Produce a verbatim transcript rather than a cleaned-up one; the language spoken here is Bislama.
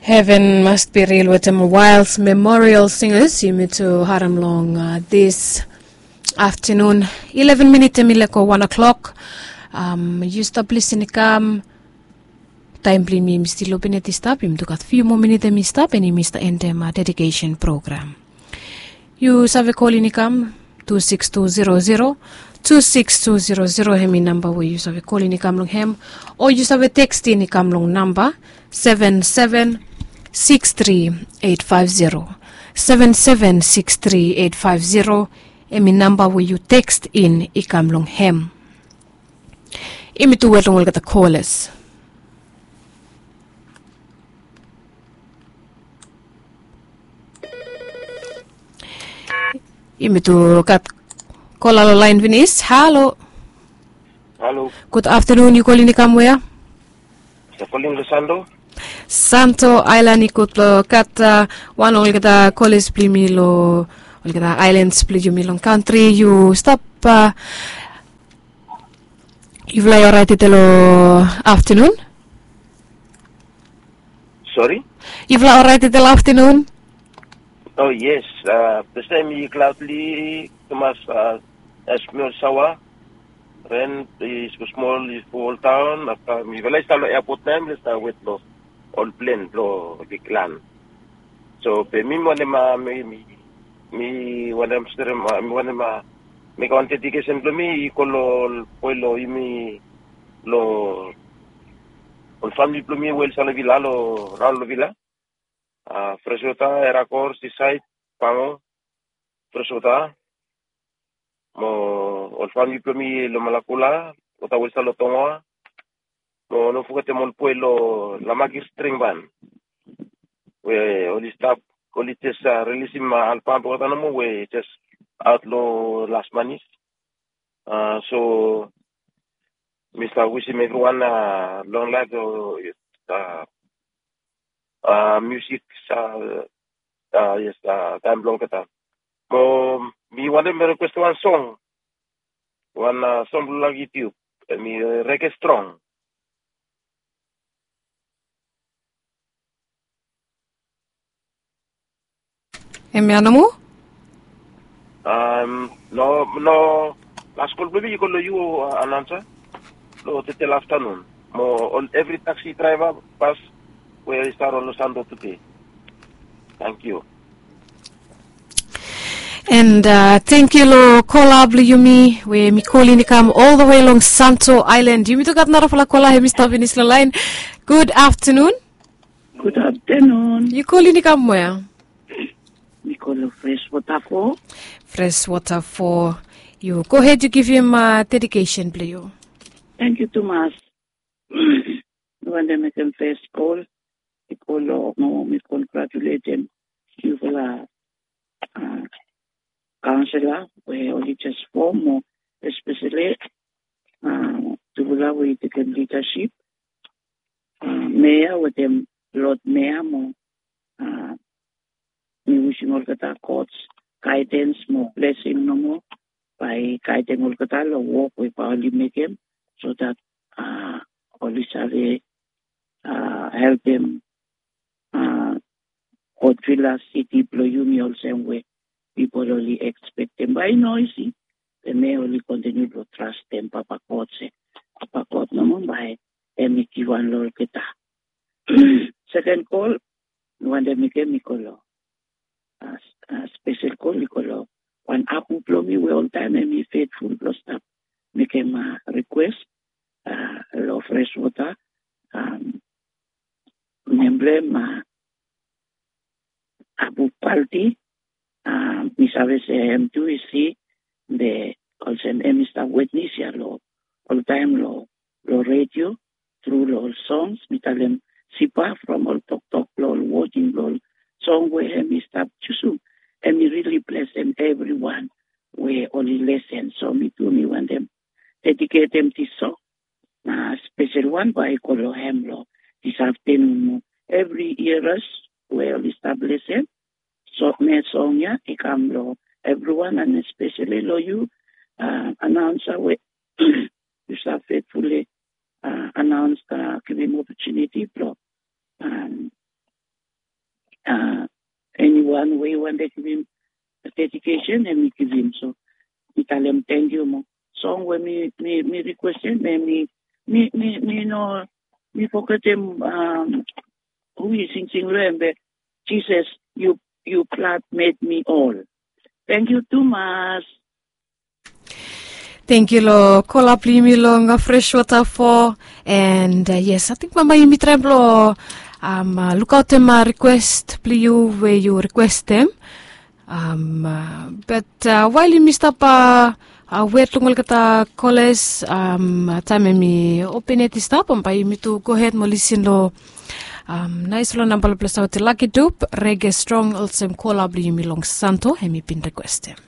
Heaven must be real wetem Wild Memorial Singers. Yumi tu harem long uh, this afternoon. Eleven minit em i leko one o'clock. Um, yu stap lisin i kam. Taem blong yumi, yumi stil lobineti stap. Yumi tu gat fiu moa minit em i stap, and yumi stap endem uh, dedication program. Yu save kolin i kam tu six tu zero zero tu six tu zero zero, hem i namba we yu save kolin i kam long hem, o yu save tekstin i kam long namba seven seven six three eight five zero. Seven seven six three eight five zero, hem i namba we yu tekstin i kam long hem. Yumi tu wet long olgeta kolas. Yumi tu gat kola long laen finis. Halo. Halo. Gud aftanun, yu kolin i kam wea? Sa kolin long Santo. Santo Aelan i gud long gat uh, wan olgeta kolas blong yumi long olgeta aelans blong yumi long kantri. Yu stap uh, Yufala i oraet i telo aftanun? Sori? Yufala oraet i telo aftanun? Oh yes, uh, tastaem i klaodli tumas, uh, smol saoa. Ren i smosmol i fo oltaon, afta mifala i stap long eapot nao, mifala i stap wet long ol plen blong biglan. So be mi wantem, uh, mi, mi, mi wantem sterem, uh, mi wantem, uh, mekem wan dedikesen blong mi i go long ol boe long yumi, long ol famili blong mi we oli stap long Vila, long raon long Vila. Uh, Freswota, Erakor, Sisaed, Pango, Freswota, mo ol famili blong mi long Malakula, Wota Westa long Tongoa, mo no fogetem ol boe long Lamakir String Ban. We oli stap, oli jes uh, rilisim uh, albam blong olgeta nomo we jes aot long las manis. Uh, so mi stap wisim evriwan uh, long laef, uh, uh, musik, uh, uh, yes, uh, taem blong olgeta. Mo mi wantem rikwestem wan song. Wan uh, song blong Lucky Dube. Hem i uh, Reke Strong. Hemia nomo? Um, no, no. Las kol blong mi i go long yu, uh, anaonsa. Long tete long aftanun. Mo ol evri taksi draeva, bas, we i stap long Santo tede. Tangkiu. And uh, tangkiu long kola blong yumi we mi kolin i kam ol the way long Santo Island. Yumi tu gat narafala kola, hem i stap finis long laen. Gud aftanun. Gud aftanun. Yu kolin i kam wea? Mi kolin long Freswota fo. Freswota fo. Yu gohed, yu givim uh, dedikesen blong yu. Tangkiu tumas. Mi wantem mekem fes kol. Mi kol long, mo mi kongratuletem yufala uh, kaonsela we oli jes fom, mo espeseli uh, tufala we i tekem lidasip, uh, mea wetem lod mea mo uh, mi wisim olgeta God gaedens mo blesing nomo bae i gaedem olgeta long wok we bae oli mekem, so that uh, oli save uh, helpem uh, God Vila siti blong yumi olsem we pipol oli ekspektem. Bae i no isi, be mi oli kontiniu blong trastem Papa God se Papa God nomo bae hem i givhan long olgeta. Seken kol mi wantem mekem i go long, uh, spesel kol i go long wan apu blong mi we oltaem hem i fetful blong stap mekem uh, rikwes uh, long Freswota. Um, nem blong hem uh, Apu Palti. Uh, mi save se hem tu i si, be olsem hem i stap witnes ia long oltaem long, long redio, tru long ol songs. Mi talem Sipa from ol toktok blong ol woding blong ol song we hem i stap jusum. Hem i rili blesem evriwan we oli lesen. So mi tu mi wantem dediketem dis song na spesel wan bae i go long hem long dis aftanun mo evri iaras we oli stap lesen. So mi song ia i kam long evriwan, and espeseli long yu, uh, anaonsa we yu stap fetfuli uh, anaons, uh, givim opotuniti blong um, Eniwan we i wantem givim dedikesen em i givim. So mi talem tangkiu mo song we mi mi mi rikuestem em mi mi mi mi no mi fogetem hu i singsing lo em be, Jesus, yu yu blad med mi ol. Tangkiu tumas. Tangkiu long kola blong yumi long fres wota fo. And yes, ating bambae yumi traem blong lukaotem rikuest blong yu we yu rikuestem. Bat wael yumi stap wet long olgeta koles, taem em i open yet i stap, bambae yumi tu gohed mo lisin long nais long namba long ples aot laki dup rege strong olsem kola blong yumi long santo em i bin rikuestem.